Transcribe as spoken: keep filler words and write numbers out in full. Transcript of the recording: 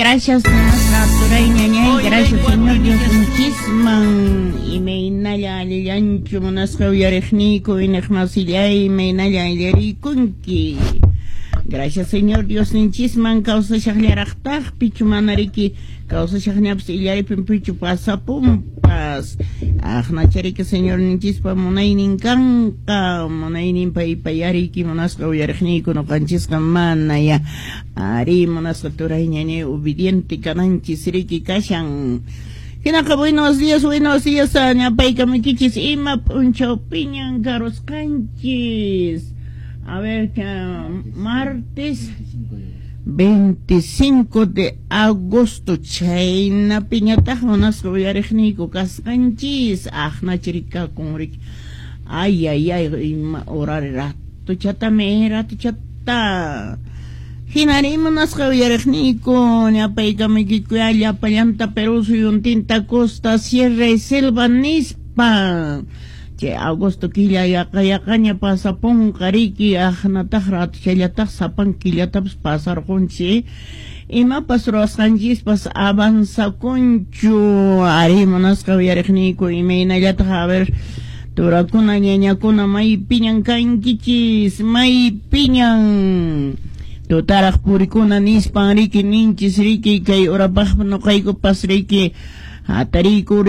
Gracias, turay ñañay, gracias, Señor Diosninchisman. Imaynalla allillanchu, munasqa uyariqniyku, iñiqmasillay, imaynalla allarikunki. Gracias, Señor Diosninchisman, kawsashaqllaraqtaq pichu mana riki kawsashaqñapas illaripin pichu pasapunpas. Aqnachariki Señor ninchispa munaynin kanqa, munaynin paypayariki, munasqa uyariqniyku, nuqanchisqa mana ya. Ari, munasqa turay ñañay, obediente kananchis riki kashan. Hinaqa, buenos días, buenos días, ñapaykamukichis, ima p'unchawpiñan karusqanchis. A ver, que martes veinticinco de agosto, chaynapiñataq munasqa uyariqniyku kasqanchis, aqnachirikakun riki. Ay, ay, ay, ima horari ratuchatami, ratuchata. Hinari munasqa uyariqniyku, ñapaykamuykiku llapallanta Perú suyuntinta, costa, sierra y selva nispa. Chay agosto killa yaqa yaqaña pasapunqa riki, aqnataq ratuchallataq sapan killatapas pasarqunchik. Imapas ruwasqanchispas avanzakunchu. Ari, munasqa uyariqniyku, imaynallataq, a ver, turakuna, ñañakuna, maypiñan kankichis, maypiñan tutaraq purikuna nispan riki ninchis riki, kay urapaq nuqaykupas riki hatariyku.